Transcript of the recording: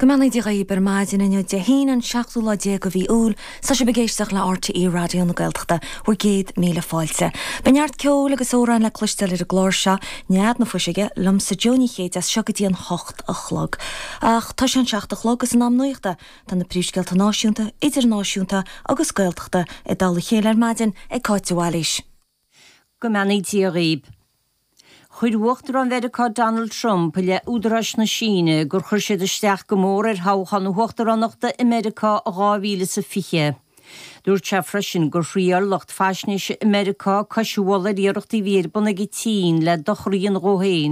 Go mbeannaí Dia dhaoib ar maidin inniu, Dé hAoine an seachtú lá déag de mhí Iúil. Tá sibh ag éisteacht le RTÉ Raidió na Gaeltachta, bhur gcéad míle fáilte. Beidh neart ceoil agus amhráin le cloisteáil ar an gclár seo, Nead na Fuiseoige, liomsa Jó Ní Chéide as seo go dtí an hocht a chlog. Ach tá sé an seacht a chlog agus in am nuachta. Tá na príomhscéalta náisiúnta, idirnáisiúnta agus Gaeltachta i dtoll a chéile ar maidin ag Cáit de Bhailís. Go mbeannaí Dia dhaoib. Chuir Uachtarán Mheiriceá Donald Trump i leith údaráis na Síne gur chuir siad isteach go mór ar thoghchán na huachtaránachta i Meiriceá i 2020. Dúirt sé freisin gur thriail lucht faisnéise i Meiriceá cois a mhullaigh ar iarrachtaí a bhí ar bun ag an tSín le dochar a dhéanamh dhó féin.